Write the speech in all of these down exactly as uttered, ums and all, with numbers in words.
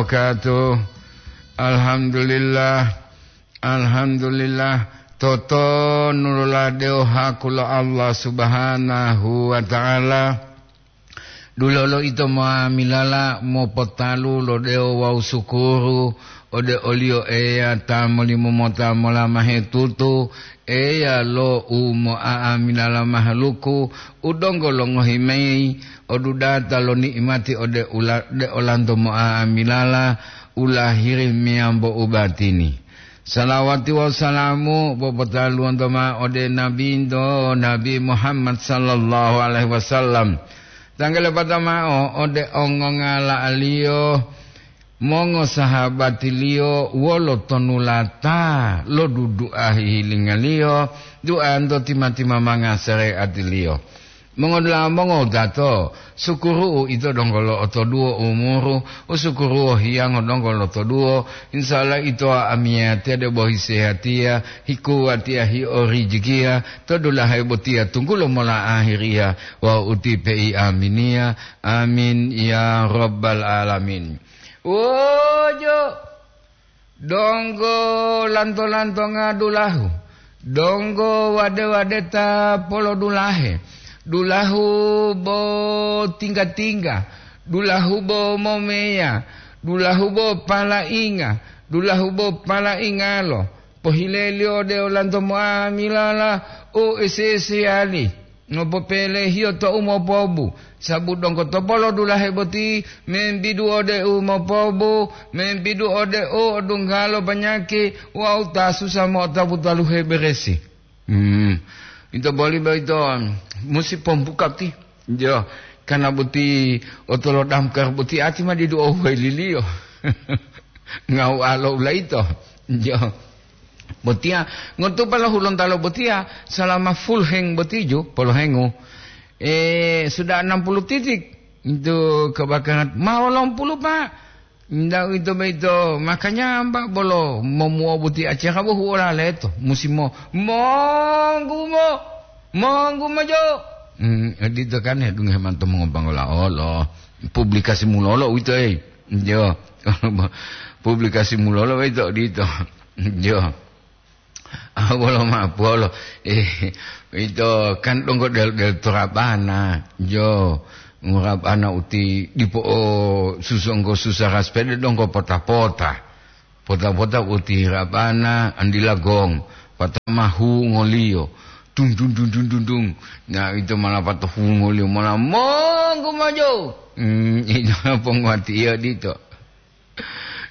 wabarakatuh. Alhamdulillah. Alhamdulillah. Totonu loladewo haku lo Allah Subhanahu wa Ta'ala. Dulolo ito moamilala mopotalu lo dewo wawu sukuru ode oliyo Eya ta molimo mota molamahe tutu, Eya lo u moa'amilala mahaluku, u donggo longohi mayi odudata lo ni'imati ode ula-, de olanto moa'amilala u lahiri meyambo u batini. Salawati wawu salamu popotaluwonto mao ode Nabinto, Nabi Muhammad sallallahu alaihi wasallam. Tanggalepata mao ode ongongala'aliyo, mongosahabatiliyo wolo tonulata lo dudu'a hihilinga-Liyo, duanto tima-timamanga sare'ati-Liyo. Mongodula'a mongowutato, sukuru'u ito donggo lo'otoduwo umuru, u sukuru'u hiyango donggo lotoduwo, insya Allah ito amiyatiya debo hisehatiya, hikuwatiya, hiorijikiya, to dulahe botiya tunggulo mola ahiriya wawu utipe'i aminiya. Amin ya rabbal alamin. Wojo, donggo lanto-lantonga dulahu, donggo wade-wadeta polodulahe, dulahu bo tingga-tingga, dulahu bo momeya, dulahu bo palainga, dulahu bo palaingalo, pohileliyo ode olanto moamilala u ese-eseyali. Ngopopelehiyo to u mopobu, sabu donggo to polodulahe boti membidu ode u mopobu, membidu ode u odunggalo panyaki wawu ta susa mo'otapu taluhe beresi. Hmm. Ito boli boyito musi pombuka ti. Jo, karena boti otolo damkar boti ati ma didu ohuweliliyo. Ngau alo ulaito. Jo. Botiya, ngotupa lo Hulontalo botiya, salama full heng botiju, polohengu. Eh, sudah enam puluh titik. Itu kebakaran. Ma wolong puluh, Pak. Ndak uwito boyito, makanya Mbak bolo momuo boti acara bohu olaleto. Musi mo, monggu mo, monggu mo jo. Hmm, odito kan ya, dunge mantu mongobanggola olo. Publikasi mulolo uwito, eh. Jo. Publikasi mulolo uwito, odito. Jo. Ah, wolo ma'o polo. Eh, ito kan donggo del-, del torabana. Jo, ngurabana uti dipo o susonggo susara sepede donggo pota-pota. Pota-pota uti rabana andila gong. Patama hu ngoliyo. Dung, dung, dung, dung, dung, dung. Nah, ito malah pata hu ngoliyo. Malah monggo maju. Hmm, ito ponguati iya dito.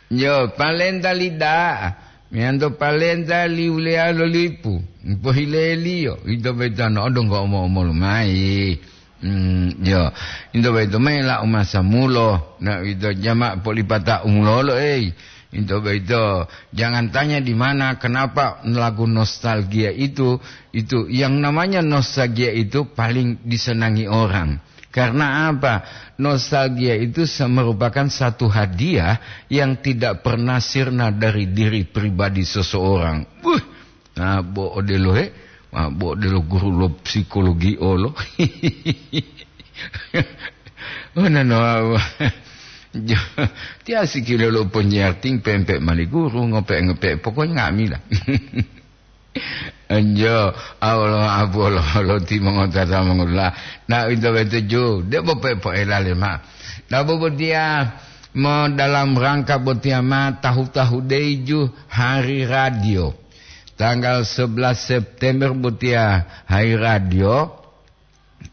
Jo, palenta li da'a, meyanto palenta li uleya lo lipu, pohileliyo, ito boyito no'odo ngo'omo-omolu mayi. Hmm, jo, ito boyito mela umasa mulo, na ito jama polipata umulolo, ei. Ito boyito, jangan tanya di mana, kenapa lagu nostalgia itu, itu, yang namanya nostalgia itu paling disenangi orang. Karena apa? Nostalgia itu se-, merupakan satu hadiah yang tidak pernah sirna dari diri pribadi seseorang. Buh, nah, bo odelo he, nah, bo odelo guru lo psikologi olo. Oh, nano, jo, tiasi kilo lo penyiar ting pempe mali guru, ngope-ngope, pokoknya nga'amila. Enjo, Allah apu Allah, Allah ti mongotata mongotata. Nah, ito betuju, debo pe poela lema. Nah, bobotia mo dalam rangka botia ma tahu-tahu deju hari radio. Tanggal sebelas September botia hari radio.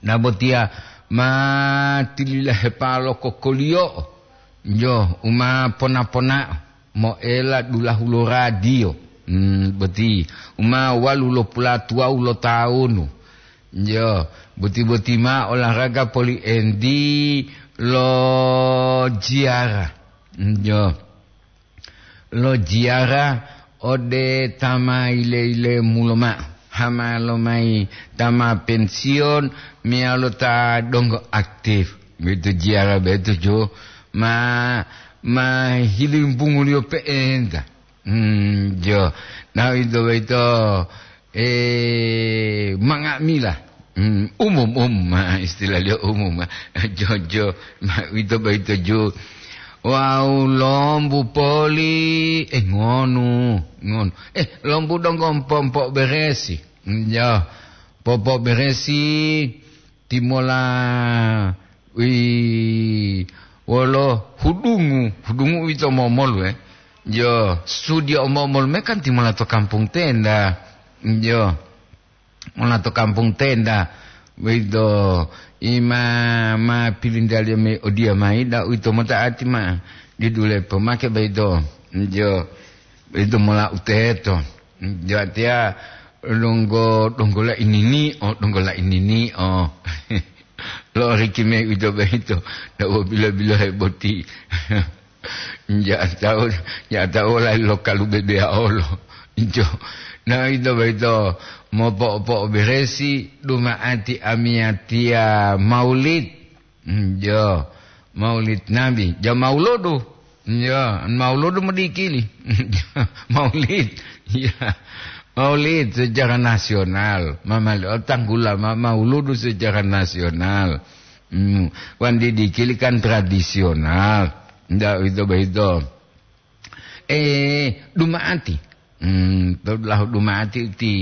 Na botiya ma tililahepalo kokoliyo'o, jo, u ma pona-ponao moela dulahu lo radiyo, hmm, boti, u ma walu lo pulatuwawu lo tawunu, jo, boti-boti ma olahraga poli endi lo jiyara, jo. Lo jiyara ode ta ma yile-yilemu lomao, hama lomayi ta ma pensiyon meyalo ta donggo aktif. Boyito jiyara boyito jo ma, ma hilimpunguliyo pe'enta. Hmm, jo. Na ito boyito, eh, manga'amila. Hmm, umum, um, ma, istilahliyo umum, ma. Jo, jo, ma, ito boyito jo. Wawu lombu poli, eh, ngonu, ngonu. Eh, lombu donggo mpo-, mpo'oberesi. Njo, popo'oberesi timola wi-, wolo hudungu, hudungu uwito momolu, eh. Njo, sudia o momolu me kan timola to kampung tenda. Njo. Mona to kampung tenda, boyito ima ma pilintaliyo me odiya mayi, da uwito mota'ati ma didule pomake boyito. Jo, boyito mola u teto. Jo, atiya donggo, donggo la inini o, donggo la inini o. Lo'oriki mayi uwito boyito, da wo bilo-bilohe boti. Nja'atawo, nja'atawo layi lo kalu bebeya olo. Njo, na ito boyito mopo'opo'oberesi duma'ati amiyatiya maulid. Njo, maulid Nabi. Ja mauludu. Njo, mauludu modikili. Maulid. Ya. Maulid secara nasional. Mamali o tanggula ma-, mauludu secara nasional. Hmm, wan didikili kan tradisional. Ndak uwito boyito. Eh, duma'ati. Hmm, to dulahu duma'ati uti.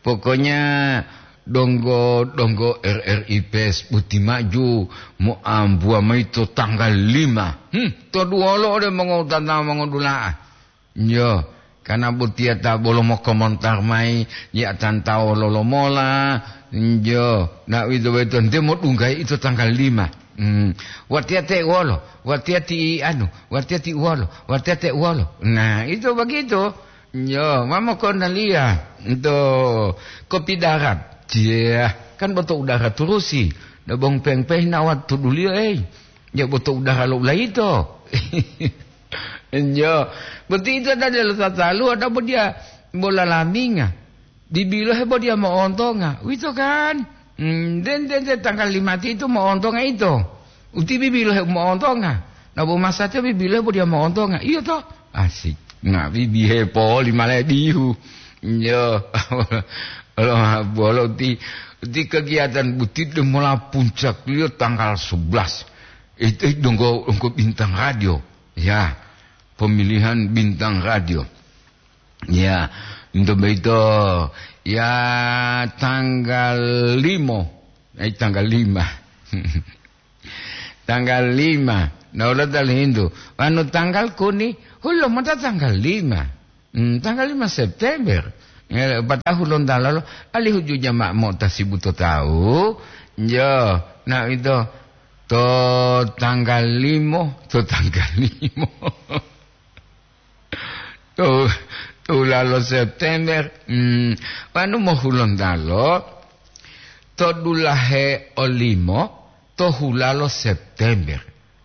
Pokoknya donggo, donggo R R I P S boti maju moambuwa mayi to tanggal lima. Hmm, to duwolo ode mongowutata mongodula'a. Njo, kana botiya ta bolo mokomontar mayi, ya tantawo lolomola, njo, na uwito boyito nte modunggayi ito tanggal lima. Hmm. Watiya te wolo, watiya ti anu, watiya ti wolo, watiya te wolo. Nah, itu begitu. Njo, ma mokondaliya, nto kopi darat. Cia, kan boto udara turusi. Dobong pengpeh na watuduliyo, eh. Ya boto udara lo ulayito. Njo, boti ito dada lo tataluwa, dabo diya bola laminga. Dibilohe bo diya mo'ontonga. Uwito kan? Hmm, den, den, den, tanggal lima ti ito mo'ontonga ito. Uti bibilohe mo'ontonga. Nabo masatiya bibilohe bo diya mo'ontonga. Iyo to? Asik. Nga bibihe poli malae bihu. Njo. Lo, bolo ti, ti kegiatan boti demola puncakliyo tanggal sebelas. Itu donggo, donggo bintang radio. Ya, pemilihan bintang radio. Ya, untuk begitu, ya, tanggal lima. Eh, tanggal lima. Tanggal lima. Nah, ulo tali hintu. Anu tanggal kuni, hulo mota tanggal lima. Hmm, tanggal lima September. Ya, pata'u hulontalo, alihu juja ma mota sibu to tawu. Yo, nah, itu. To tanggal lima, to tanggal lima. To, to hulalo September, hmm, wanu mo hulontalo, to dulahe olimo, to hulalo September.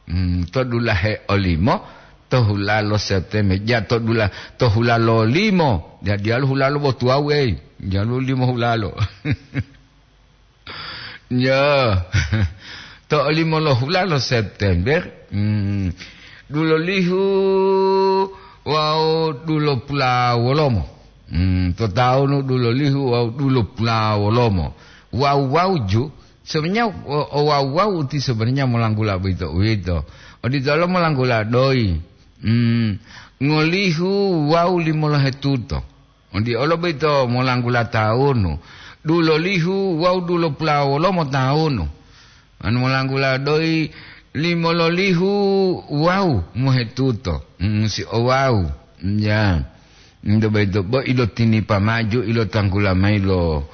Hmm, to dulahe olimo, to hulalo September. Ja to dula-, to hulalo limo. Ja diyalu hulalo bo tuwawu, ei. Diyalu limo hulalo. Yo, to olimo lo hulalo September, hmm, dulolihu wawu dulopulawolomo. Hmm, to tawunu dulolihu wawu dulopulawolomo. Wawu wawuju, sebenarnya o, o wawu-wawu ti sebenarnya molanggula boyito uwito. Oditolo molanggula doyi. Hmm, ngolihu wawu limolohetuto. Undi olo boyito molanggula tawunu, dulolihu wawu dulopulawolomo tawunu. Anu molanggula doyi limololihu wawu mohetuto, musi o wawu. Ya. Ndo boyito bo ilotinipa maju, ilotanggula mayi lo,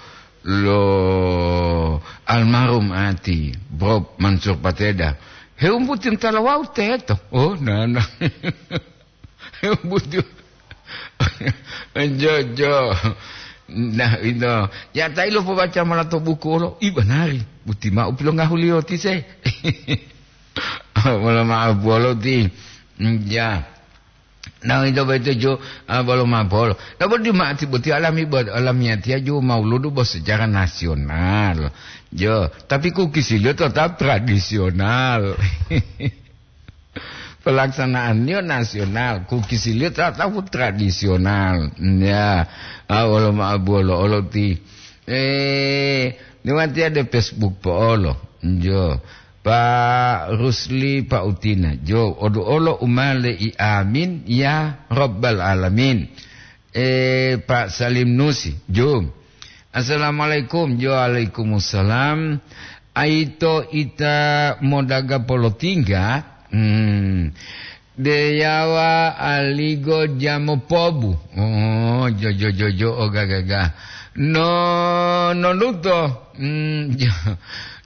lo almarhum ati, Bob Mansur Pateda. Hewumbuti ntala wawu teto. Oh, nana. Butu. Jo, jo. Nah, ito. Ya, ta ilo pobaca mola to buku olo. I banari. Buti ma'u pilongahuliyo ti se. Mola ma'o bolo ti. Ya. Nah, ito beto jo, ah, bolo ma bolo. Nah, bodi ma'ati boti alami, bo-, alamiyatiya jo mauludu bo sejarah nasional. Jo, tapi kukisiliyo tetap tradisional. Pelaksanaannya nasional, kukisiliyo tetap tradisional. Ya, ah, olo ma bolo, olo ti. Eh, niwati ada Facebook po olo. Jo. Pak Rusli, Pak Utina, jo, oduolo umale i amin, ya Rabbal Alamin. Eh, Pak Salim Nusi, jo. Assalamualaikum, jo, waalaikumsalam. Aito ita modaga polotingga, hmm, deyawa aligo jamo pobu. Oh, jo, jo, jo, jo, oh, ga, ga, ga. No, no luto. Hmm, jo.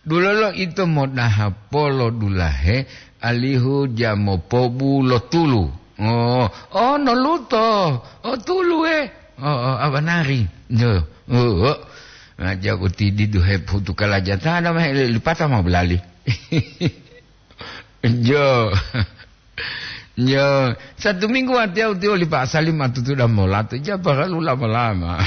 Dulolo ito modaha polo dulahe, alihu jamo pobu lo tulu. Oh, oh, no luto. Oh, tulu, eh. Oh, oh, abanari. Jo. Oh, oh. Nah, jago tidi duhe putu kalajatana mah, lipata mau belali. Jo. Jo. Satu minggu watiya utiyo li Pak Salim matutu dan molato. Ja, paralu lama-lama.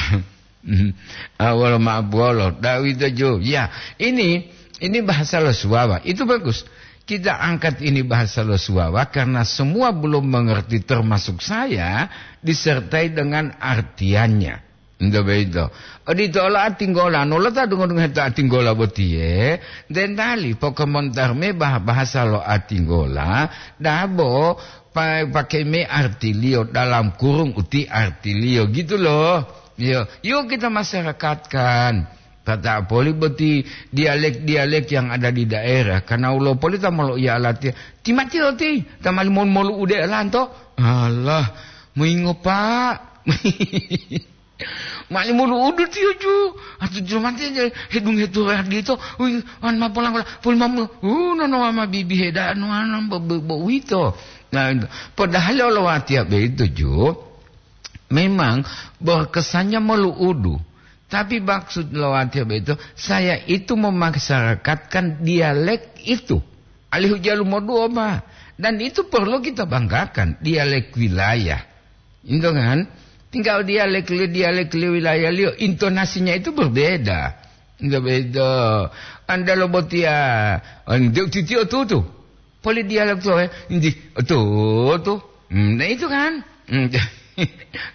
Ah, wolo ma'abuwolo, da'uwito ju. Ya, ini, ini bahasa lo Suwawa. Itu bagus. Kita angkat ini bahasa lo Suwawa karena semua belum mengerti, termasuk saya, disertai dengan artiannya. Ento boyito. Odito olo atinggola, no lo ta dungo-dungo heto atinggola botiye, dentali pokomontar me bah-, bahasa lo atinggola, dabo pa-, pake me artiliyo, dalam kurung uti artiliyo, gitu loh. Yo, yuk kita masyarakatkan. Tata poli boti dialek-dialek yang ada di daerah. Karena ulo poli ta molo iya alati, ti mati oti, ta mali molu-molu ude lanto. Alah, muingo, Pak. Mali molu udu tiyo ju. Atu jumante je hedung hetu radito. Ui, wan ma polang pola, pul mamu. Uh, no, no, ma bibi heda, no, no, bo, bo, bo, uito. Nah, padahal lo watiya begitu ju. Memang berkesannya molu udu. Tapi maksud lo watiya begitu, saya itu memasyarakatkan dialek itu. Alihu jalu moduo, Pak. Dan itu perlu kita banggakan, dialek wilayah. Ento kan? Tinggal dialek li-, dialek li wilayah liyo, intonasinya itu berbeda. Ento beda. Anda lo botiya, ente titiyo tutu. Poli dialek tuwe, enti tutu. Hmm, nah itu kan? Hmm,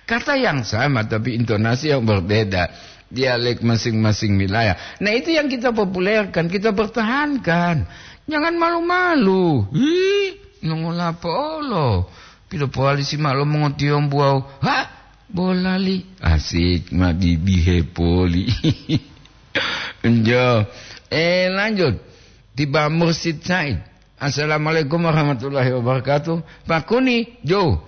kata yang sama tapi intonasi yang berbeda. Dialek masing-masing wilayah. Nah, itu yang kita populerkan, kita pertahankan. Jangan malu-malu. Ih, nongolapo olo. Pilo powali si malo mongotiyombu wawu. Ha? Bolali. Asik, ma bibi hepoli. Njo. Eh, lanjut. Tiba Mursid Said. Assalamualaikum warahmatullahi wabarakatuh. Pakuni, jo.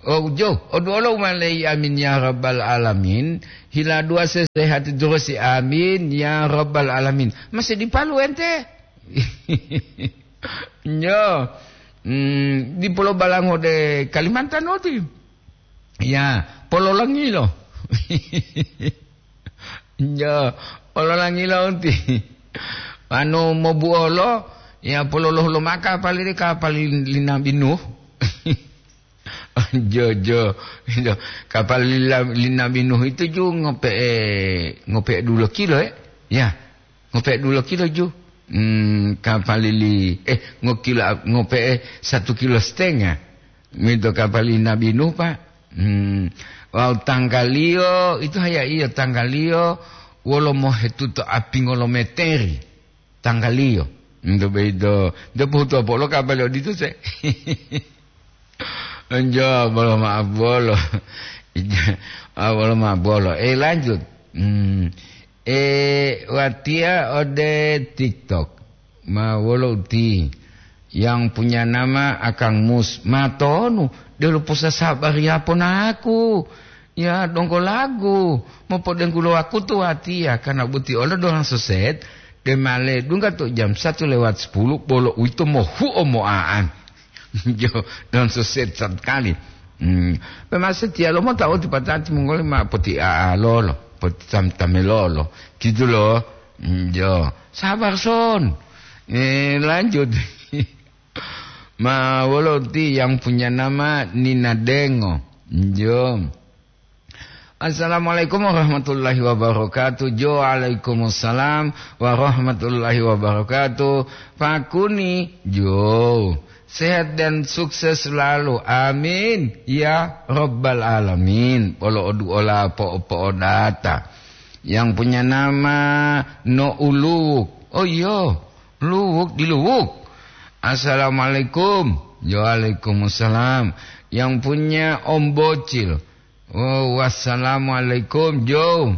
Oh, jo. Oduolo umalei, amin ya rabbal alamin. Hila dua sesehati terus, amin ya rabbal alamin. Masih di Palu ente? Nyo. Hmm, di Pulau Balango de Kalimantan oti. Ya, pololangilo. Nyo, pololangilo oti. Anu mobuolo, ya pololohu lo maka pali de kapali li Nabi Nuh. Jo, jo, jo. Kapal li la-, li Nabi Nuh itu ju ngope'e, ngope'e dulo kilo, eh? Ya, ngope'e dulo kilo ju. Hmm, kapal li, eh, ngokilo, ngope'e satu kilo setengah. Mito kapal li Nabi Nuh, Pak. Hmm, wawu tanggaliyo, itu haya iyo tanggaliyo, wolo mohetuto api ngolometeri. Tanggaliyo. Nto boyito, nto pohutuwa polo kapali odito se. Njo, bolo maaf bolo. Ah, bolo maaf bolo. Eh, lanjut. Hmm. Eh, watiya ode TikTok. Ma wolo uti. Yang punya nama Akang Mus. Matonu. Delo posa sabar ya ponaku. Ya, donggo lagu, mopodenggu lo wakutu watiya, karena boti olo dolang soset, de ma ledungga to jam satu lewat sepuluh, bolo uwito mohuo mo'a'an. Jo, dolang soset satkali. Hmm. Pe masatiya lo mota oti patati mongoli ma poti a'a lolo, poti tam-, tame lolo. Gitu lo. Hmm, jo. Sabar, Son. Eh, lanjut. Ma wolo ti yang punya nama Nina Dengo. Jo. Assalamualaikum warahmatullahi wabarakatuh. Jo, waalaikumsalam warahmatullahi wabarakatuh. Pakuni, jo. Sehat dan sukses selalu. Amin. Ya Rabbal Alamin. Polo oduola po-, po'odata. Yang punya nama No Uluwuk. Oh, iyo. Luwuk, di Luwuk. Assalamualaikum. Waalaikumsalam. Yang punya Om Bocil. Oh, wassalamualaikum, Jo.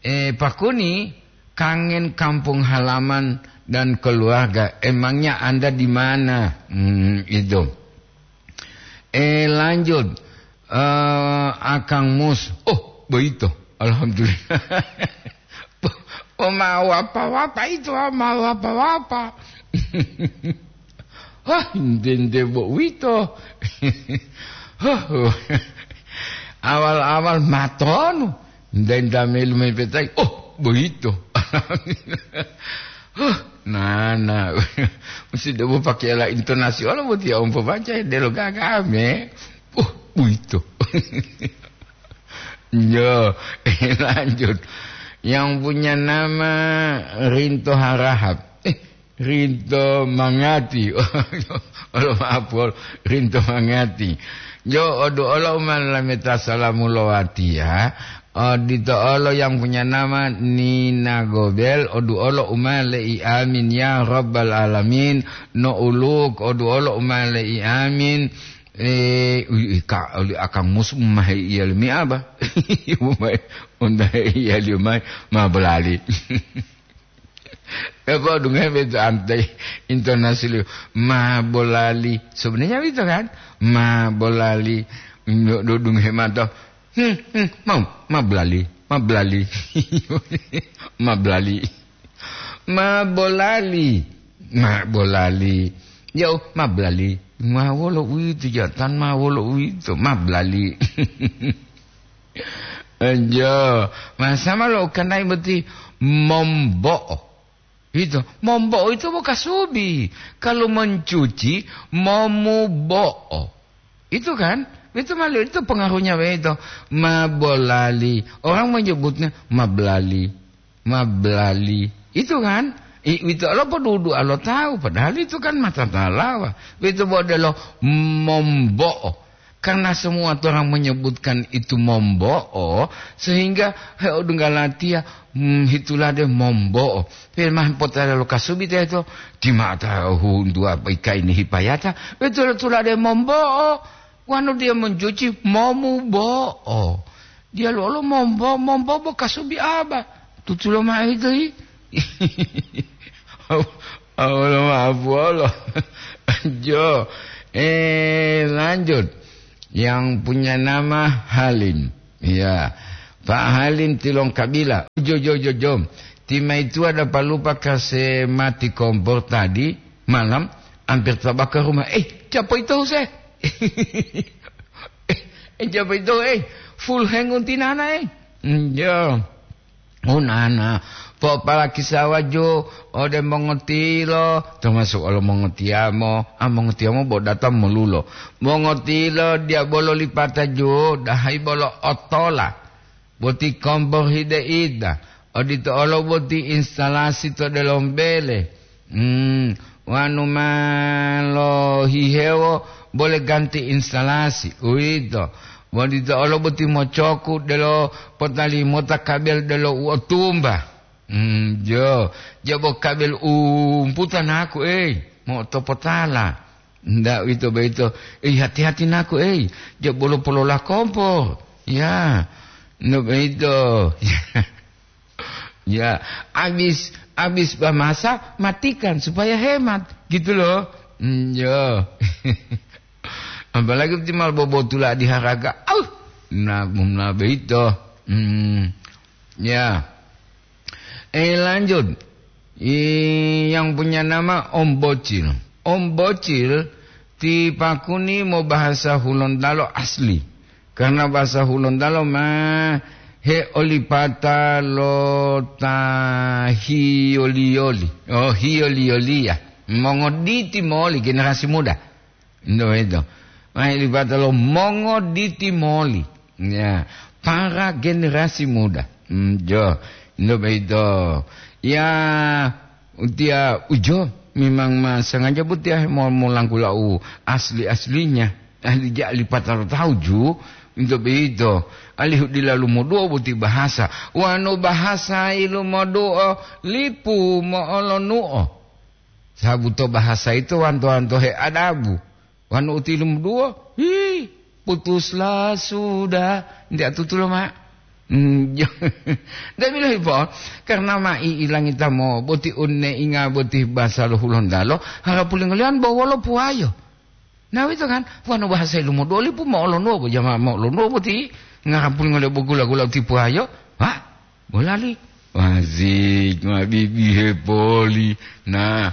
Eh, Pak Kuni, kangen kampung halaman dan keluarga. Emangnya Anda di mana? Hmm, itu. Eh, lanjut. Eh, Akang Mus. Oh, begitu. Alhamdulillah. Oh, ma wapa-wapa itu, ah, ma wapa-wapa. Hah, nde-nde bo uwito. Hah, awal-awal matonu. Nda-nda melu mepetai. Oh, boyito. Huh, nana. Musi debo pakai ala intonasi olo boti ya umpo baca delo gagame. Oh, boyito. Yo, lanjut. Yang punya nama Rinto Harahap. Eh, Rinto Mangati. Olo maaf, Pol. Rinto Mangati. Jo, odu olo uma lameta salamu lowatiya. Odito olo yang punya nama Nina Gobel. Odu olo uma le'i amin ya Rabbal Alamin. No uluk, odu olo uma le'i amin. Eh, ui, ui, ka, oli Akang Mus mahe iya lemi aba. Umai, undahe iya liyo mai, ma bolali. Apa dungohe beto ante intonasi liyo, ma bolali. Sebenarnya itu kan, ma bolali. Nyo-, do dungohe mato. Hmm, hmm, mau, ma bolali, ma bolali. Ma bolali. Ma bolali, ma bolali. Yo, ma bolali. Ma wolo uwito, jatan ma wolo uwito, ma bolali. Enjo, ma sama lo kanai boti mombo'o. Itu, mombo'o itu bo kasubi. Kalau mencuci, momubo'o. Itu kan? Itu malu itu pengaruhnya begitu. Ma bolali. Orang menyebutnya ma bolali. Ma bolali. Itu kan? I, itu lo podudu alo tahu. Padahal itu kan mata talawa. Itu bo delo mombo'o. Karena semua orang menyebutkan itu mombo'o, sehingga he odunggalatia, hmm, hitulade mombo'o. Pe mah potala lo kasubi teto, timata hundu apa ika ini hipayata, betul tulade mombo'o. Wanu dia mencuci momubo'o. Dia lolo mombo, mombo bo kasubi aba. Tutulo mah itu, hi. Awolo maaf wolo. Jo. Eh, lanjut. Yang punya nama Halim. Ya. Pak Halim Tilong Kabila. Jo, jo, jo, jo. Timaitua dapat lupa kase mati kompor tadi malam, hampir tabakar rumah. Eh, siapa itu, Huse? Eh, siapa itu, eh? Full hang untinana, eh? Hmm, ya. Oh, nana, popalaki sawa jo ode mongotilo, termasuk olo mongotiyamo, ah, mongotiyamo bo datang molulo. Mongotilo diabolo lipata jo, dahai bolo otola. Boti kompor hide ida, odito olo boti instalasi to delombele. Hmm, wanu ma lohihewo bole ganti instalasi, uwito. Bo dito olo boti mocoku delo potalimota kabel delo u otumba. Hmm, jo, jabo kabel umputa naku, ei, mo topotala. Nda uwito boyito, ei, hati-hati naku, ei, jabo lo polola kompor. Ya, no boyito. Ya, habis, habis bamasa, matikan supaya hemat, gitu loh. Hmm, yo. Apalagi timal bobotula di haraga. Au, na, na beito. Hmm. Ya. Eh, lanjut. I, yang punya nama Om Bocil. Om Bocil, ti pakuni mo bahasa Hulontalo asli. Karena bahasa Hulontalo ma he olipata lo ta hiyoli-yoli. Oh, hiyoli-yoliya. Mongoditi moli generasi muda. Ndo itu. Ma he olipata lo mongoditi moli. Ya, para generasi muda. Hmm, jo. Ndo itu. Ya, Utiya ujo, memang ma sengaja boti ahe mo-, molangkula u asli-aslinya. Ahli ja lipata lo tahu ju, into beito. Alihu dilalu moduo boti bahasa. Wanu bahasa ilu moduo, lipu mo'olonuo. Sabu to bahasa ito wanto-wanto he adabu. Wanu uti lumuduwo, hi, putuslah sudah. Nti atutulo ma. Hmm, ndak bilohi po, karena ma i ilangita mo boti unne inga boti bahasa lo Hulontalo, harapulingolian bo wolo puwayo. Nah, itu kan, wanu bahasa ilumudoli pu mo olonuwo bo jama mo olonuwo boti, ngarapulingolian bo gula-gula uti puwayo. Wah, bolali. Wazik, ma bibihe poli. Nah.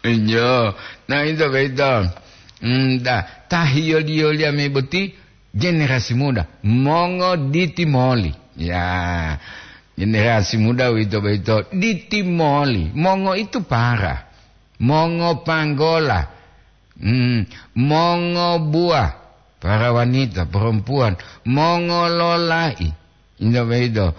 Injo. Nah, itu beito. Hmm, dah, tahiyo-diyo liya me boti generasi muda. Mongo diti moli. Ya. Generasi muda wito beito diti moli. Mongo itu para. Mongo panggola. Hmm, mongo buah. Para wanita, perempuan. Mongo lolai. Injo beito.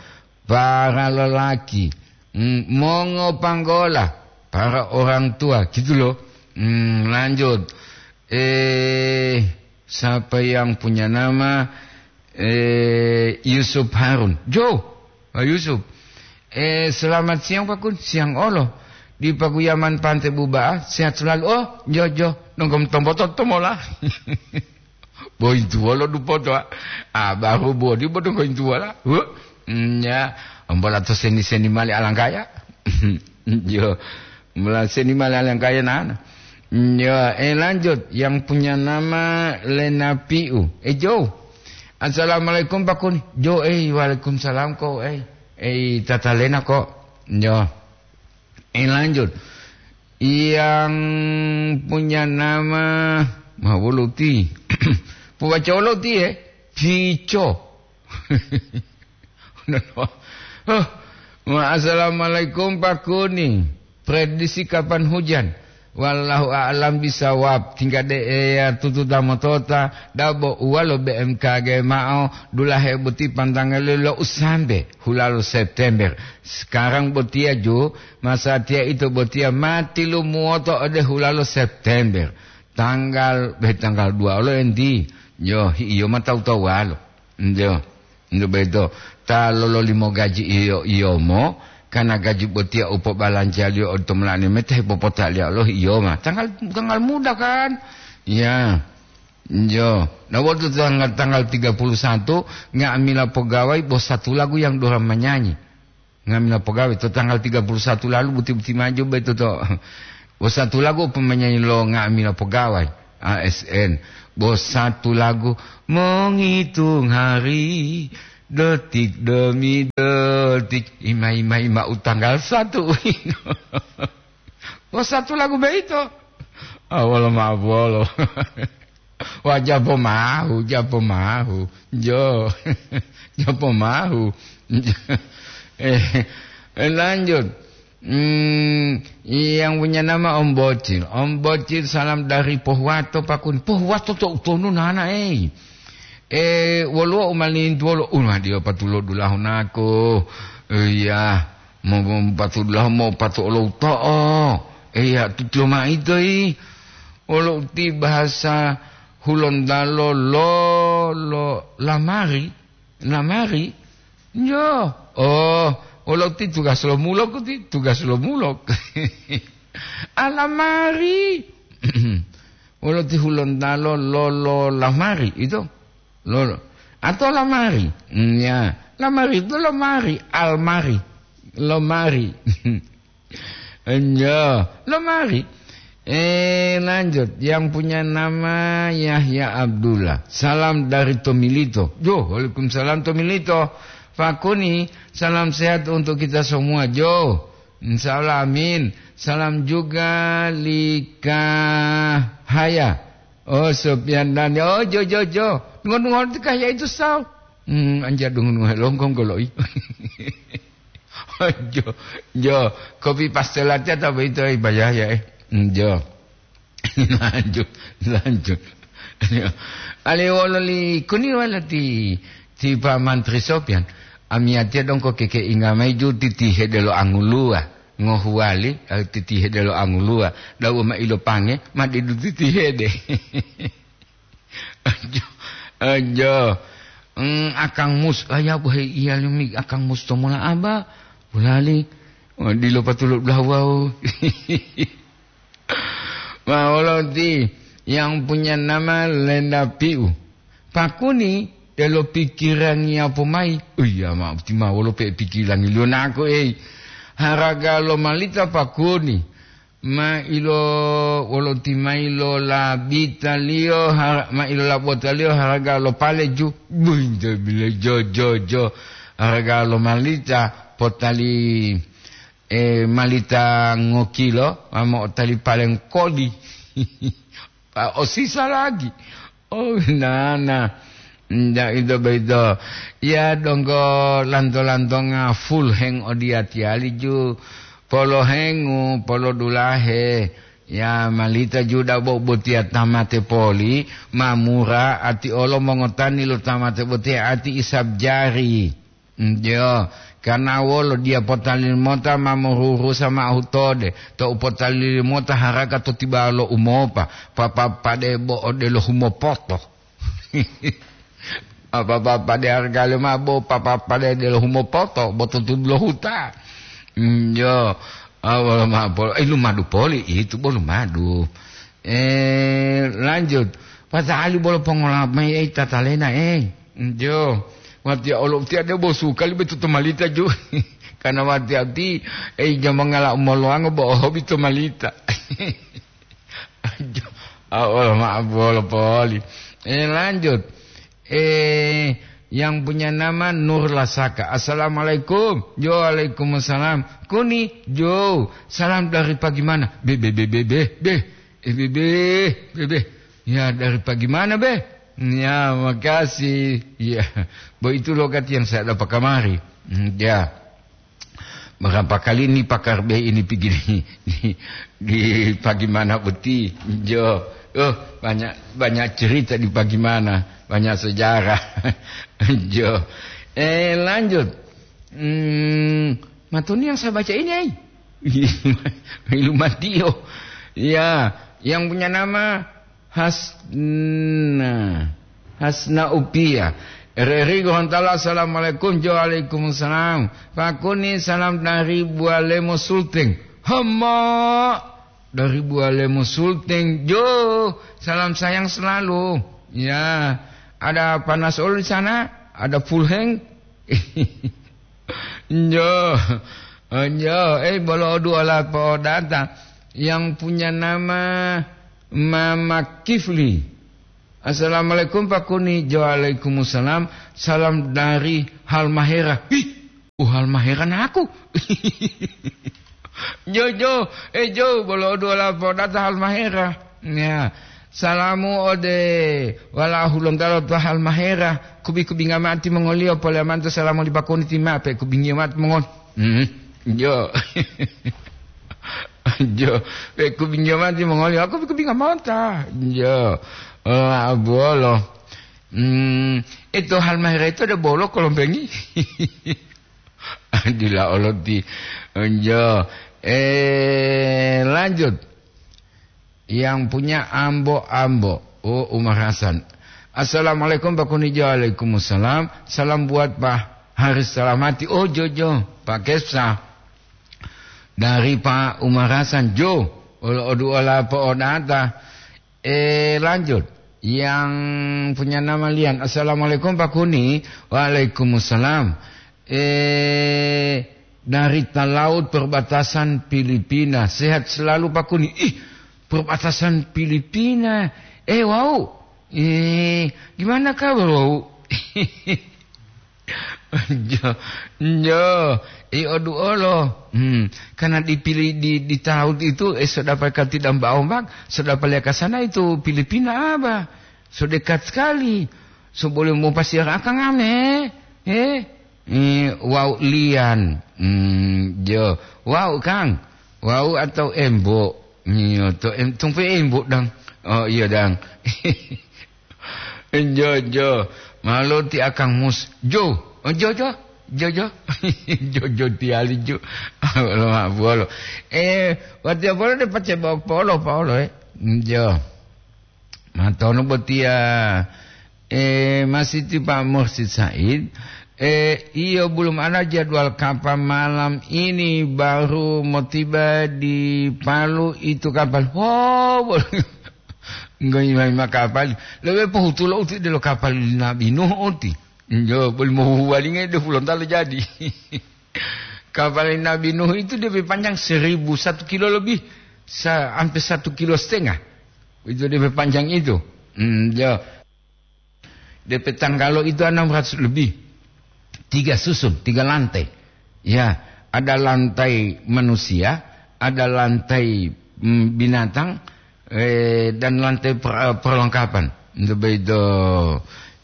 Para lelaki. Hmm, mongo panggola. Para orang tua. Gitu loh. Hmm, lanjut. Eh, siapa yang punya nama, eh, Yusuf Harun? Jo, Pak Yusuf. Eh, selamat siang, Pak Kun. Siang olo. Di Pakuyaman Pante Buba'a, sehat selalu. Oh, jo, jo. Nonggom tomboto tomola. Bointuwolo dupoto, a. Ah, baru bodi bodo bointuwola. Huh? Hmm, ya. Ambola to seni-seni mali alanggaya. Jo. Mula seni mali alanggaya nana. Hmm, ya, eh, lanjut. Yang punya nama Lena Piu. Eh, Jo. Assalamualaikum, Pak Kuni. Jo, eh, waalaikumsalam kok, eh. Eh, Tata Lena kok. Jo. Eh, lanjut. Yang punya nama, ma woluti. Puwaca woluti, eh? Pico. Oh, ma-, assalamualaikum, Pak Kuni. Prediksi kapan hujan? Wallahu a'lam bisawab. Tingga de eya tututa motota, dabo uwalo B M K G ma'o, dulahe boti pantangaliyo lo usambe, hulalo September. Sekarang botiya ju, masatiya ito botiya ma tilumuwoto ode hulalo September. Tanggal, be tanggal dua olo enti. Yo, hi-, iyo ma tawu-tawuwalo. Njo, njo beto. Ta lololimo gaji iyo-iyomo, karena gaji botiya u pobalanjaliyo ode to molani mete hepopotaliya lo iyo ma. Tanggal, tanggal muda kan? Ya. Njo. Na wonu tanggal, tanggal tiga puluh satu, nga'amila pogawai bo satu lagu yang dorang manyanyi. Nga'amila pogawai to tanggal tiga puluh satu lalu buti-buti maju beto to. Bo satu lagu pemanyanyi lo nga'amila pogawai. A S N. Bo satu lagu, menghitung hari, detik demi detik, ima-ima-ima u tanggal satu. Bo satu lagu beito. Awolo ma'o bolo. Wah, japo mahu, japo mahu. Jo. Japo mahu. Eh, lanjut. Hmm, yang punya nama Om Bocil. Om Bocil, salam dari Pohuwato, Pak Kun. Pohuwato to utonu nana, eh. Eh, woluwo umalintu wolo, unadiyo patulo dulahu nako. Iya, mo, mo patulo dulahu mo patulo uto'o. Iya, tutulo maitu, i. Wolo uti bahasa Hulontalo lo, lo, lamari. Lamari? Yo. Oh, wolo ti tugas lo mulok ti, tugas lo mulok. Alamari. Wolo ti Hulontalo lo, lo lamari itu. Lo, lo. Atau lamari. Hmm, ya. Lamari itu lemari, almari. Lemari. Enyo, lemari. Eh, lanjut. Yang punya nama Yahya Abdullah. Salam dari Tomilito. Yo, waalaikumsalam Tomilito. Pak Kuni, salam sehat untuk kita semua, Jo. Insya Allah, amin. Salam juga Likahaya. Oh, Sopian dan, oh, Jo, Jo, Jo. Ngon-ngon Likahaya itu, Sal. Hmm, anja dungun ngohe longkong golo'i. Jo, jo, kopi paste latiya ta boyito, eh, bayah ya, eh. Hmm, jo. Lanjut, lanjut. Ali wolo li kuni wala ti, ti Pak Mantri Sopyan. Amiyatiya dongko keke inga mayi ju titi hede lo anguluwa. Ngohuwali, eh, titi hede lo anguluwa. Dawu ma ilopange, ma didu titi hede. Ajo, ajo. Mm, Akang Mus, aya bohe iya limi Akang Mus to mola aba. Bulali. Oh, dilo patulu dulahu wau. Ma wolo ti yang punya nama Lenda Piu. Pakuni delo pikirangi apo mai. Oh iya, ma ti ma wolo pe pikirangi liyo nako, ei. Haraga lo malita pakuni. Ma ilo wolo ti ma ilo labitaliyo, har-, ma ilo labotaliyo haraga lo pale ju. Buinte bile jo, jo, jo. Haraga lo malita potali eh, malita ngokilo, ma mo'otali paleng koli. Pa osisa lagi. Oh, nana. Nda ito boyito. Ya, donggo lanto-lantonga full heng odiyatiyali ju. Polo hengu, polo dulahe. Ya, malita juda bo botiya tamate poli, mamura ati olo mongotani lo tamate botiya ati isab jari. Njo, karna wolo diya potali mota ma morurusa ma'o hutode, to u potali mota haraka to tibawa lo umopa, papa pade bo odelo humopoto. Apa papa pade harga le ma bo papa pade delo humopoto, bo to tudulo huta. Njo, awala ma polo, eh, lumadu poli, itu bo lumadu. Eh, lanjut. Pata'ali bolo pongola'a mayi, ei, tatalena, ei. Njo. Watiya olo utiya debo suka libe tutu malita ju. Karena watiya ti, ei, jamangala umolowango bo ohobi to malita. Njo. Ah, olo maaf bolo poli. Eh, lanjut. Eh, yang punya nama Nur Lasaka. Assalamualaikum. Jo, waalaikumsalam. Kuni, jo. Salam dari pagi mana? Be, be, be, be, be, be. Eh, be, be, be, be. Ya, dari pagi mana, be? Ya, makasih. Ya, begitu logat yang saya dapat kamari. Hmm, ya. Berapa kali ini pakar be ini pergi di, di, di pagi mana boti? Jo. Oh, banyak, banyak cerita di pagi mana. Banyak sejarah. Jo. Eh, lanjut. Hmm, matuni yang saya baca ini, ai. Ilu matio. Ya, yang punya nama Hasna. Hasna Upia. R R I Gorontalo, assalamualaikum. Jo, waalaikumsalam. Pakuni, salam dari Bualemo Sulteng. Hama dari Bualemo Sulteng. Jo, salam sayang selalu. Ya, ada panas olo di sana, ada full heng. Njo, njo, eh, bolo oduola po'odata yang punya nama Mama Kifli. Assalamualaikum, Pak Kuni. Waalaikumsalam. Salam dari Halmahera. Ih, uh, Halmahera naku. Jo, jo, eh, jo, bolo oduola po'odata Halmahera. Ya, salamu ode wala'u Hulontalo to Halmahera, kubi-kubinga mati mongoliyo, polemanto salamu li Pak Kuni ti ma'o, pe kubingiyo mati mongol-, hmm, jo. Jo, pe kubingiyo mati mongoliyo, aku kubinga mota. Jo, oh, abuolo. Hmm, ito Halmahera ito de bolo kolombengi. Dila oloti. Jo, eh, lanjut. Yang punya ambo-ambo. Oh, Umar Hasan. Assalamualaikum, Pak Kunijo. Waalaikumsalam. Salam buat Pak Haris Salamati. Oh, Jojo. Pak Kesa. Dari Pak Umar Hasan. Jo. Olo oduola po'odata. Eh, lanjut. Yang punya nama Lian. Assalamualaikum, Pak Kuni. Waalaikumsalam. Eh, dari Talaut perbatasan Filipina. Sehat selalu, Pak Kuni. Ih, perbatasan Filipina. Eh, wow. Eh, gimana kabar, wow? Jo, jo, i oduolo. Hmm, karena dipilih di, di Talaut itu, eh, sudah pakai tidak ombak-ombak, sudah pakai ke sana itu Filipina apa? So dekat sekali. So boleh mau pasir akang ame. Eh, Eh, wau Lian. Hmm, jo. Wau, Kang. Wau atau Embo? Iyo, to em-, tumpe Embo, dang. Oh, iya, dang. Jo, jo. Malo ti akang mus. Jo. Oh, jo, jo. Jo, jo. Jo, jo tiali, jo. Lo ma bolo. Eh, watiya bolo de pace bok polo, polo, eh. Jo. Matono botiya, eh, masih ti Pak Mursid Said, Eh, iyo, belum ada jadwal kapal malam ini, baru mau tiba di Palu itu kapal. Oh, ngoima-ngoima kapal. Lebih pohutulo uti delo kapal Nabi Nuh uti. Yo, belum mau walinge de Hulontalo jadi. Kapal Nabi Nuh itu lebih panjang seribu, satu kilo lebih, sa-, hampir satu kilo setengah. Itu lebih panjang itu. Hmm, ya. D P tanggalo itu enam ratus lebih. Tiga susun, tiga lantai. Ya, ada lantai manusia, ada lantai, mm, binatang, eh, dan lantai per-, perlengkapan. Itu begitu.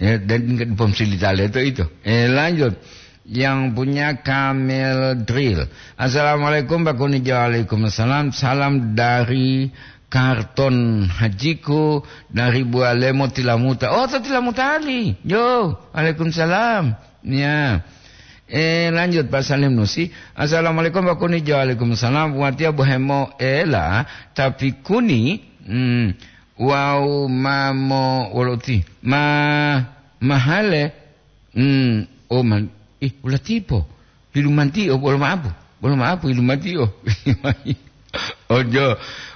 Ya, dan ingat bom silitale itu, itu. Eh, lanjut. Yang punya Camel Drill. "Assalamualaikum, Pak Kuni." Waalaikumsalam. Salam dari Karton Hajiku dari Bualemo Tilamuta. Oh, to Tilamuta ali. Yo, waalaikumsalam. Ya. Eh, lanjut, Pak Salim Nusi. "Assalamualaikum, Pak Kuni." Waalaikumsalam. Watia bohemo ela, tapi Kuni, hmm, wau mamo woloti. Ma, mahale. Hmm, oh, man, ih, ulatipo. Hilumanti'o, bolo ma'apu. Bolo ma'apu, hilumanti'o. Ojo,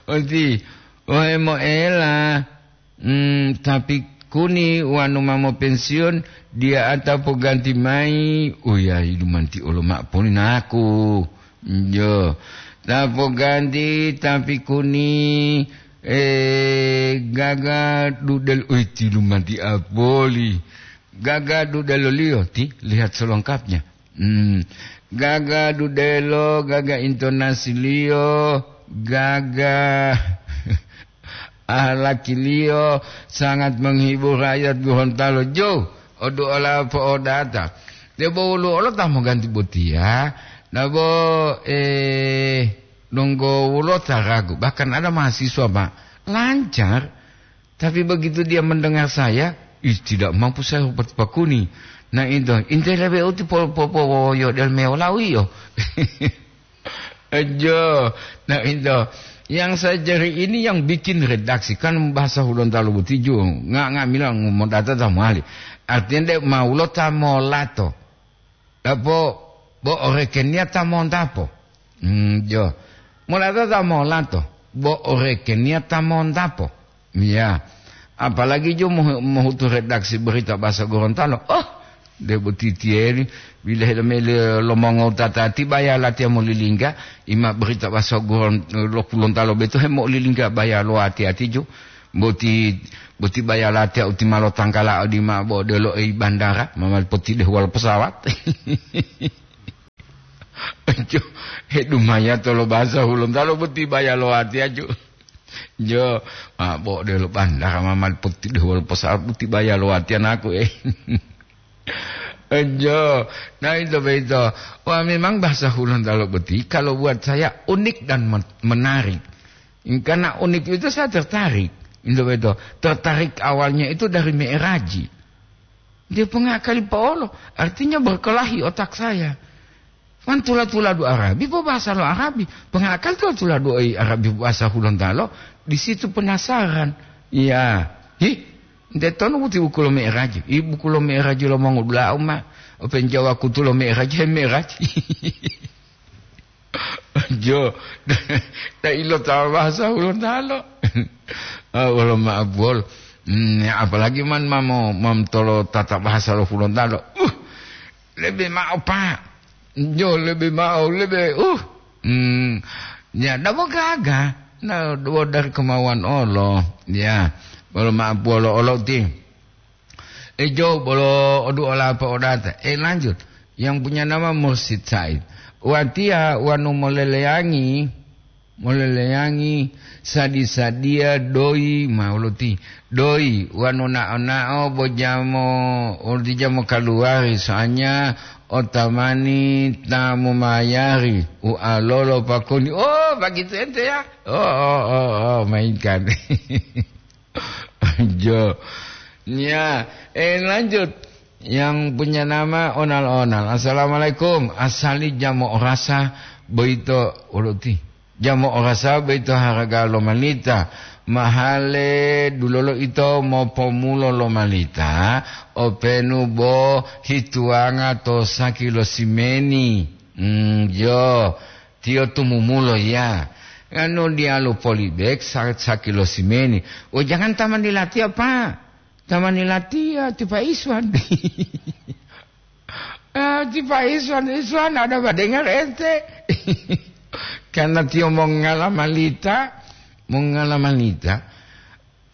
onti, ohe moela. Hmm, tapi Kuni wanu ma mopensiun, dia ata poganti mai. Uya, hilumanti'o lo ma'apuni naku. Jo, ta poganti, tapi Kuni, eh, gaga dudel, uy, tilumanti apoli. Gaga dudeloliyo, ti, lihat selengkapnya. Hmm. Gaga dudelo, gaga intonasiliyo, gaga ahlakiliyo, sangat menghibur rakyat Gorontalo. Jo, odu ola po'odata. Debo woluwo olo ta moganti botiya, nabo, eh, donggo woluwo ta ragu. Bahkan ada mahasiswa, Pak, lancar. Tapi begitu dia mendengar saya, ih, tidak mampu saya berpakuni. Nah, itu, intele be uti po-, po-, powoyo del mewolawiyo. Ejo, nah, itu. Yang saya cari ini yang bikin redaksi, kan bahasa Hulontalo boti ju, nga-, nga'amila ngomodata ta mowali. Artinya, de maulo ta molato. Dapo bo orekeniya ta montapo. Hmm, jo. Molato ta molato, bo orekeniya ta montapo. Iya. Apalagi jo mohu-, mohutu redaksi berita bahasa Gorontalo. Oh, de boti tiyeri, bilahe lomele lomongotata ti baya latiya molilingga, ima berita bahasa Goron-, lo Hulontalo beto hemolilingga baya lo ati-ati jo. Boti, boti baya latiya uti malo tangkala odima bo delo ei bandara, ma mali potidehuwalo pesawat. Jo, he dumaya tolo bahasa Hulontalo boti baya lo ati aju. Jo, ma bo delo bandara ma mali potidehuwalo pesawat boti baya lo ati anaku, eh. Jo, nah, itu begitu. Wah, memang bahasa Hulontalo boti kalau buat saya unik dan men-, menarik. Karena unik itu saya tertarik. Itu begitu. Tertarik awalnya itu dari me'eraji. Dia pengakali paolo, artinya berkelahi otak saya. Kan tula-tuladu Arabi, po bahasa lo Arabi. Pengakali tula-tuladu Arabi, bahasa Hulontalo, di situ penasaran. Iya. Hi, nte tonu buti buku lo me'eraji. I buku lo me'eraji lo mongodula uma. Open Jawa kutu lo me'eraji, he me'eraji. Jo, ta ilo ta bahasa Hulontalo. Ah, wolo ma'abuwol. Hmm, ya, apalagi man mamo, mam tolo tata bahasa lo Hulontalo. Uh, lebe ma'o, Pak. Jo, lebe ma'o, lebe, uh. Hmm, ya, dabo gaga. Na, dabo dari kemauan olo. Ya, wolo ma'abuwol olo ti. Ejo bolo odu olapa odata. Eh, lanjut. Yang punya nama Mursid Said. Watiya wanu moleleyangi, moleleyangi sadi-sadiya doyi mauluti. Doyi wanu nao-nao bo jamo, ulti jamo kaluwari, soalnya otamani ta momayari. Ualolo pakoni. Oh, begitu ente ya? Oh, oh, oh, oh, mainkan. Jo. Ya, eh, lanjut. Yang punya nama Onal-Onal. "Assalamualaikum. Asali jamo orasa boyito woluti. Jamo orasa boyito haraga lo manita. Mahale dulolo ito mopomulo lo malita, openu bo hituwanga to saki lo simeni. Mm, jo, tiyo tumumulo ya. Anu diyalu polibek sa-, saki lo simeni. Oh, jangan tamani latiya, Pak. Tamani latiya, ti Pak Iswan. Ah, ti Pak Iswan, Iswan, ada badengar ente? Karena tiyo mongala malita, mongala malita.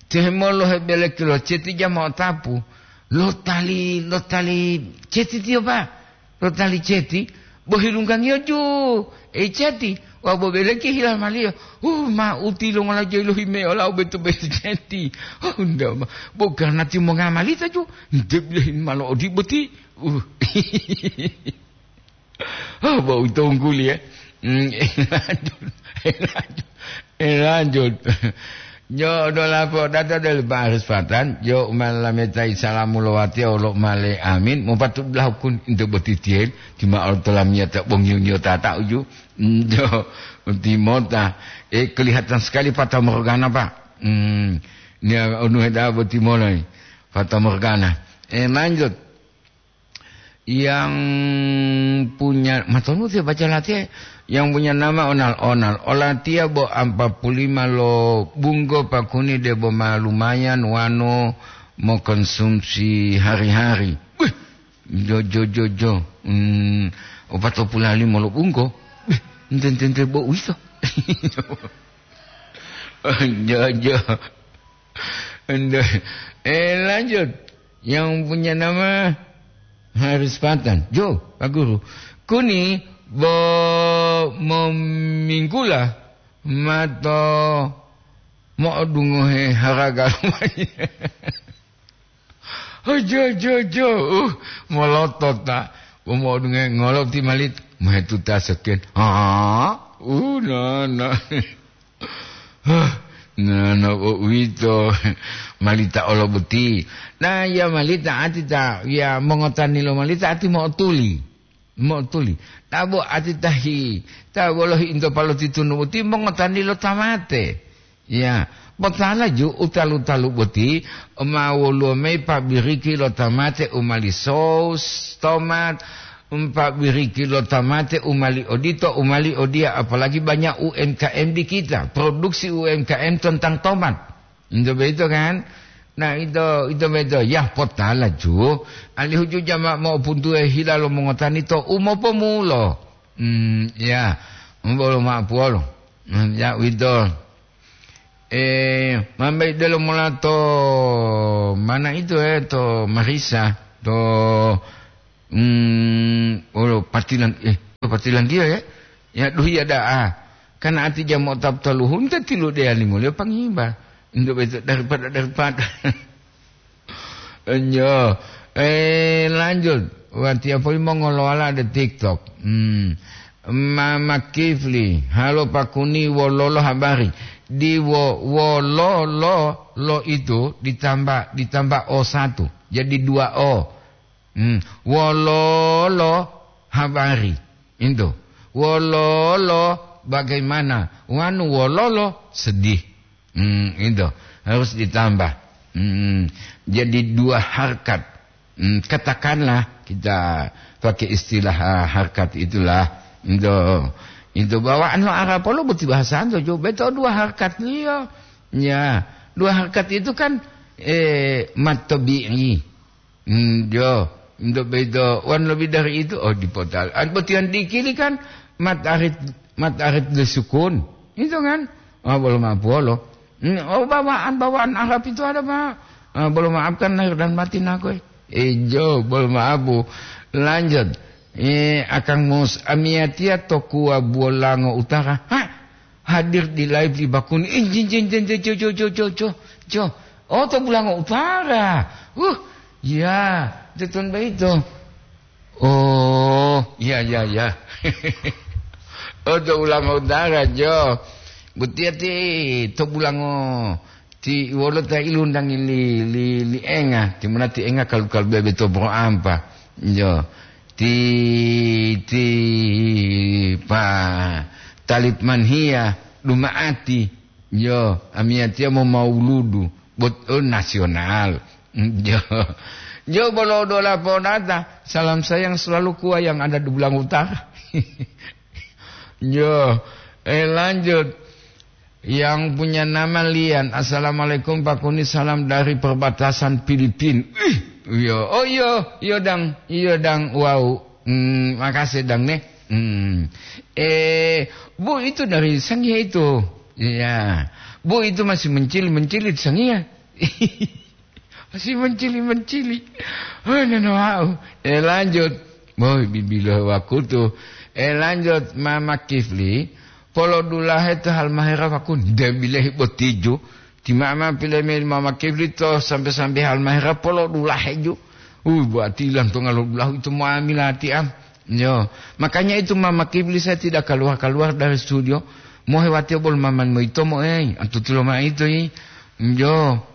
Tiyo hemolo hebeleki lo ceti jama otapu. Lo tali, lo tali ceti tiyo, Pak. Lo tali ceti, bo hilunggangiyo ju. E ceti, wa bo beleki hilamaliyo. Uh, ma uti lo ngola joyi lo hime ola beto-beto ceti. Oh, nda ma. Bo karena tiyo mongamalita ju. Nde bilahin malo odi boti. Uh. Oh, bau tungguli, ya. Hmm, lanjut. Lanjut. Lanjut. Jo do lapo data del baris patan, jo umalametai salamu lowati olo male amin, mupatu lahukun into botitiel, tima ortolamia ta bongiu nyo tata uju. Hmm, jo, timota. Eh, kelihatan sekali Fata Morgana, Pak. Hmm, nia onu heda botimolai. Fata Morgana. Eh, lanjut. Yang punya, matonu tiyo baca latiya, yang punya nama Onal-onal. Olatiya bo ampa pulima lo bunggo pakuni debo ma lumayan wano mokonsumsi hari-hari. Wih, jo, jo, jo, jo. Hmm, opat puluh lima lo bunggo. Wih, ente, ente, ente, bo uwito. Jo, jo. Ente. Eh, lanjut. Yang punya nama Haris Patan. Jo, Pak Guru. Kuni bo mominggula mato mo'odungohe haraga lumaiya. Oh, jo, jo, jo. Uh, molotot ta. Bo mo'odungohe ngolo ti malit. Mohetuta seken. Ha? Uh, nana. Hah, nana bo uwito, malita olo boti. Na, ya malita ati ta, ya mongotani lo malita ati mo'otuli. Mo'otuli. Ta bo ati tahi, ta bolohi into palotitunu boti mongotani lo tamate. Ya, potala ju utalu-talu boti ma woluwo mayi pabiriki lo tamate u mali saus tomat, um, pabiriki lo tamate u mali odito, u mali odiya, apalagi banyak U M K M di kita, produksi U M K M tentang tomat. Ito beito kan? Nah, ito, ito beito. Yah, potala ju. Alihu ju jama mo'opuntuwe hila lo mongotani to umopomulo. Hmm, ya. Bolo ma'apuwolo. Hmm, ya, uwito. Eh, mambai delo mola to mana itu, eh, to Marisa, to, mm, olo patilang, eh, to patilang dia, ya. Ya, duh, ya, daa. Karena ati jam otak telu hunta tilu dia limo leo pangiba. Untuk itu daripada, daripada. Enyo. Eh, lanjut. Watiya poli mongolowala de TikTok. Hmm. Mama Kifli, halo Pakuni, wololo habari? Di wo-, wololo lo itu ditambah, ditambah O satu. Jadi dua O. Hmm. Wololo habari. Itu. Wololo bagaimana? Wanu wololo sedih. Hmm, itu harus ditambah. Hmm, jadi dua harkat. Hmm, katakanlah kita pakai istilah, ah, harkat itulah. Itu, itu bawaan lo Arab lo boti bahasa anto jo beto dua harkat liyo. Ya, dua harkat itu kan, eh, matobi'i. Hmm, jo, untuk begitu, wan lebih dari itu, oh, dipotal. An botihan dikili kan, mat arit, mat arit de sukun. Itu kan? Oh, belum apa lo. Hmm, oh, bawaan, bawaan Arab itu ada, Pak. Ah, belum maafkan lahir dan batin aku, eh. Eh, jo, belum maaf, Bu. Lanjut. Eh, Akang Mus, amiyatia to kuwa Buolango Utara. Hah? Hadir di live di Bakuni. Eh, jin, jin, jin, jin, jo, jo, jo, jo, jo, jo. Oh, to Bulango Utara. Uh, ya, tetun baito. Oh, ya, ya, ya. Oh, to Bulango Utara, jo. Butiya ti to Bulango ti wolo ta ilundangi li, li, li enga. Timuna ti enga kalu-kalu bebe to bro ampa. Jo. Ti, ti pa talip manhiya duma'ati. Yo, amiyatiya mo mauludu, bot-, oh, nasional. Yo. Yo, bolo dola ponata, salam sayang selalu kuwa yang ada di Belang Utara. Yo, eh, lanjut. Yang punya nama Lian, "Assalamualaikum Pak Kuni, salam dari perbatasan Filipin." Ih, yo, oh, yo, yo, Dang, yo, Dang, wow. Hmm, makasih, Dang, nih. Hmm. Eh, Bu, itu dari Sangihe itu. Iya. Bu, itu masih mencili-mencili di Sangihe. Masih mencili-mencili. Oh, nana wau. Eh, lanjut. Boy, bibilo wakutu. Eh, lanjut, Mama Kifli. Polo dulahe to Halmahera wakun. Debilehi botijo. Ti Mama pileme Mama Kifli to sampe-sampe Halmahera polo dulahe ju. Uh, buati ilang to ngalo dulahu itu mo amila ti am. Yo, makanya itu Mama Kifli saya tidak keluar-keluar dari studio. Mohe watiyo bolo Mama moito mo, eh, antutulo ma itu, eh. Yo.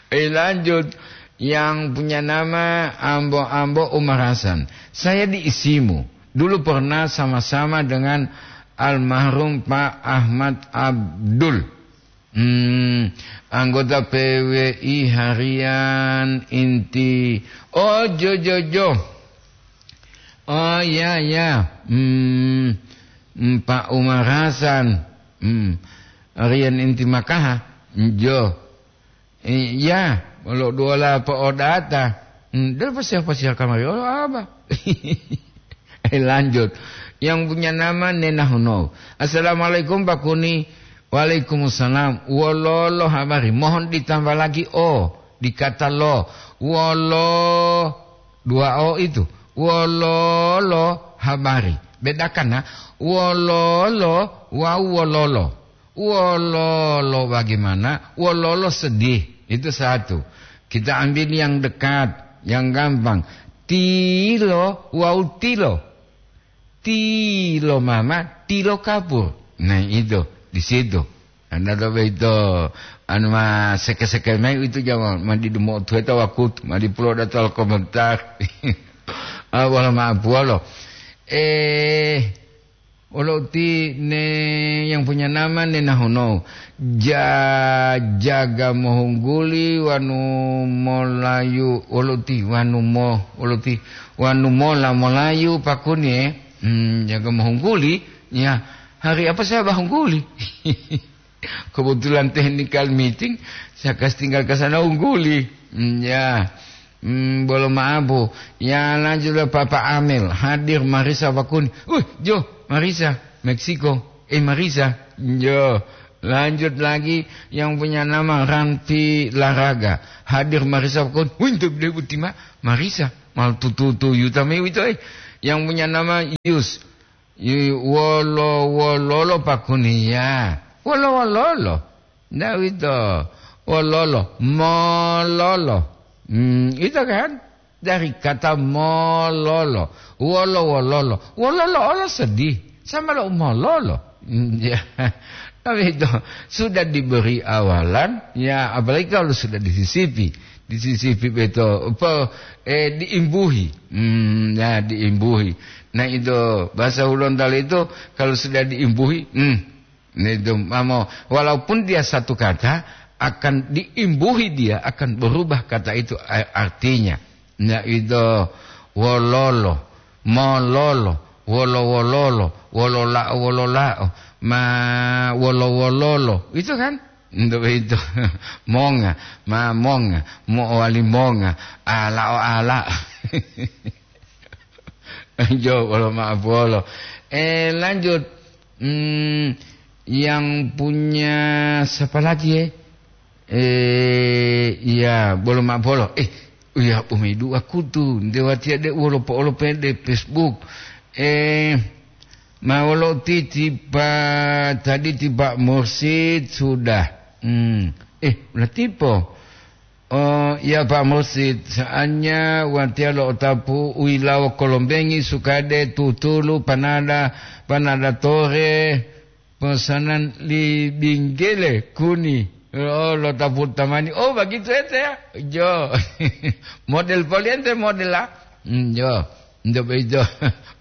Eh, lanjut. Yang punya nama Ambo-Ambo Umar Hasan. Saya di Isimu. Dulu pernah sama-sama dengan almarhum Pak Ahmad Abdul. Hmm, anggota P W I harian inti. Oh, jo, jo, jo. Oh, ya, ya. Hmm, hmm, Pak Umar Hasan. Hmm, harian inti Makaha. Jo. Eh, ya, lo duola po'odata. Hmm, dulu pasti apa sih kamari? Oh, apa? Eh, lanjut. Yang punya nama Nena Huno. "Assalamualaikum, Pak Kuni." "Waalaikumsalam. Wololo habari?" Mohon ditambah lagi o di kata lo. Wolo, dua o itu. Wololo habari. Bedakan, nah. Wololo wawu wololo. Wololo bagaimana? Wololo sedih. Itu satu. Kita ambil yang dekat, yang gampang. Tilo wawu tilo. Tilo mama, tilo kapur. Nah, itu di situ. Anda tahu itu, anu, ma seke-seke mai itu, jangan ma di demo tueta wakut, ma di pulo datal komentar. Ah, wala ma puolo. Eh, Wolo uti ne yang punya nama ne nahonou. Ja-, jaga mohungguli wanu molayu, wolo uti wanu mo-, wolo uti wanu mola molayu pakuni, eh. Hmm, jaga mohungguli, ya. Hari apa saya bahungguli? Kebetulan technical meeting, saya kasih tinggal ke sana ungguli. Hmm, ya. Hmm, bolo maapu. Ya, lanjutlah Papa Amel. Hadir Marisa Wakun. Uh, jo, Marisa, Meksiko. Eh, Marisa. Jo. Lanjut lagi yang punya nama Ranti Laraga. Hadir Marisa Wakun. Wih, itu dia Butima. Marisa. Mal tutu-tu yuta me wito, eh. Yang punya nama Yus. Yi-, wolo-wololo pakuniya. Wolo-wololo. Ndak wito. Wololo. Mololo. Hmm, itu kan? Dari kata mololo. Wolo-wololo. Wololo olo sedih. Sama lo mololo. Hmm, ya. Tapi itu sudah diberi awalan, ya, apalagi kalau sudah disisipi. Disisipi beto, apa, eh, diimbuhi. Hmm, ya, diimbuhi. Nah, itu bahasa Hulontalo itu kalau sudah diimbuhi, hmm, nah, itu, mamo, walaupun dia satu kata, akan diimbuhi, dia akan berubah kata itu, a-, artinya. Nah, itu wololo, mololo, wolo-wololo, wololao, wololao, ma wolo-wololo. Itu kan? Untuk itu. Monga, ma monga, mo'owali monga, alao, alao. Jo, bolo maaf, bolo. Eh, lanjut. Hmm, yang punya siapa lagi, ya? Eh, iya, bolo maaf, bolo. Eh, iya, umaidu aku tu. Nde watiya de wolo po olo pe de Facebook. Eh, ma wolo ti, ti pa, tadi ti Pak Mursid sudah. Hmm. Eh, ulah tipo. Oh, ya, Pak Mursid, saatnya watiya lo'otapu u yilawo kolombengi sukade tutulu panada, panada tore, pesanan li binggele kuni. Oh, lo'otapu tamani. Oh, begitu ente ya? Jo. Model poliente model lah. Hmm, jo. Nto boyito,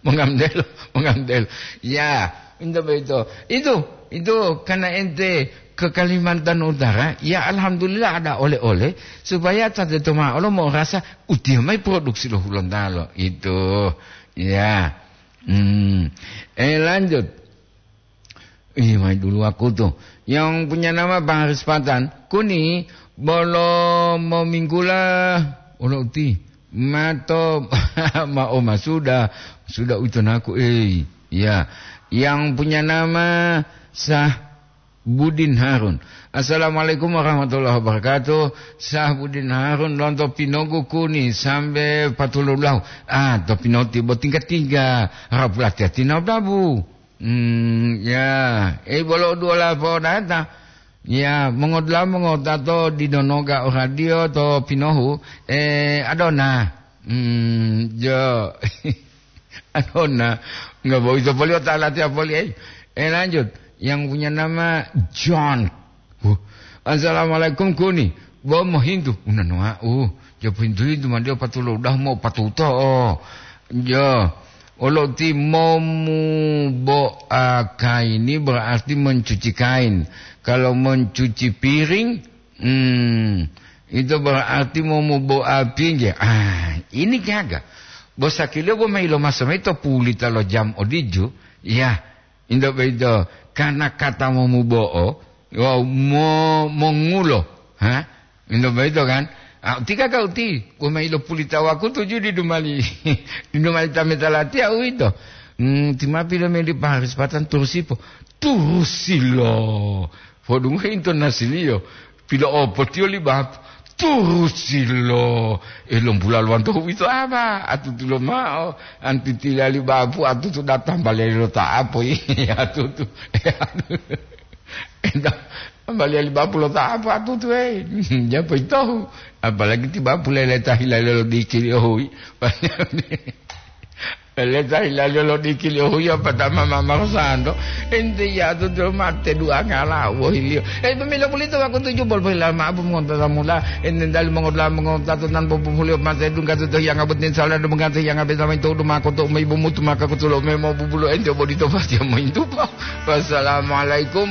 mongamdelo, mongamdelo. Ya, nto boyito. Itu, Itu karena ente ke Kalimantan Utara, ya alhamdulillah ada oleh-oleh, supaya ta teto ma'o lo mo'orasa utiya mayi produksi lo Hulontalo. Itu, ya. Hmm. Eh, lanjut. Ih, mayi dulu aku tuh. Yang punya nama Bang Haris Patan, kuni bolo mominggula, olo uti. Mato, ma oma sudah, sudah uito naku, eh. Ya. Yang punya nama Sah Budin Harun. Assalamualaikum warahmatullahi wabarakatuh. Sah Budin Harun lonto Pinogu kuni sambe patululahu. Ah, to Pinoti bo tingga-tingga. Harap latihan tina dabu. Hmm, ya. Eh, bolo dua lapo data. Ya, mongodula mongota to di donoga o radio to Pinohu. Eh, adona. Hmm, jo. Adona. Nggak boito poli o ta latihan poli, eh. Eh, lanjut. Yang punya nama John. Huh. Assalamualaikum, kuni. Bo mohintu. Unanu wa'u. Jo pohintu-hintu mandi o patulo udah mo patuto. Jo. Olo ti momu bo, ah, kaini berarti mencuci kain. Kalau mencuci piring, hmm, itu berarti momu bo api nggih. Ah, ini gaga. Bo sakilo bo mailo maso maito pulita lo jam odiju. Ya, Indo boyito, kana kata momubo'o wawu mo-, mongulo, ha? Indo boyito kan? Ah, uti kaka uti, woma ilopulita wakutu ju didu mali, didu mali tameta latiya uwito. Hmm, ti ma pilomeli paharisipatan turusipo. Turusilo. Podungohe intonasiliyo. Pilo'opotiyo li bapu, turusilo. Eh, lombula lowanto huwito aba, atutu lomao. Antitila li bapu, atutu datang balelo ta'apo. Iya, atutu. Tambaliya li bapu lo ta'apo, atutu, eh. Japo itohu. Apalagi ti bapu lele tahila lelo dikili ohui. Leta hilaliyo lo dikili ohuya patama mama santo. Ente yatu to mate duanga lawo hiliyo. Eh, pemilo pulito wakutu jubol pohila ma'apu mongontata mula. Ente dali mongodula mongotato nan popohuliyo mate dungga to hiyanga boti sala do mengate hiyanga betama ito udu mako to umaibu mutu maka kutulo memo bubulo ente bodito pasti mointupa. Wassalamualaikum.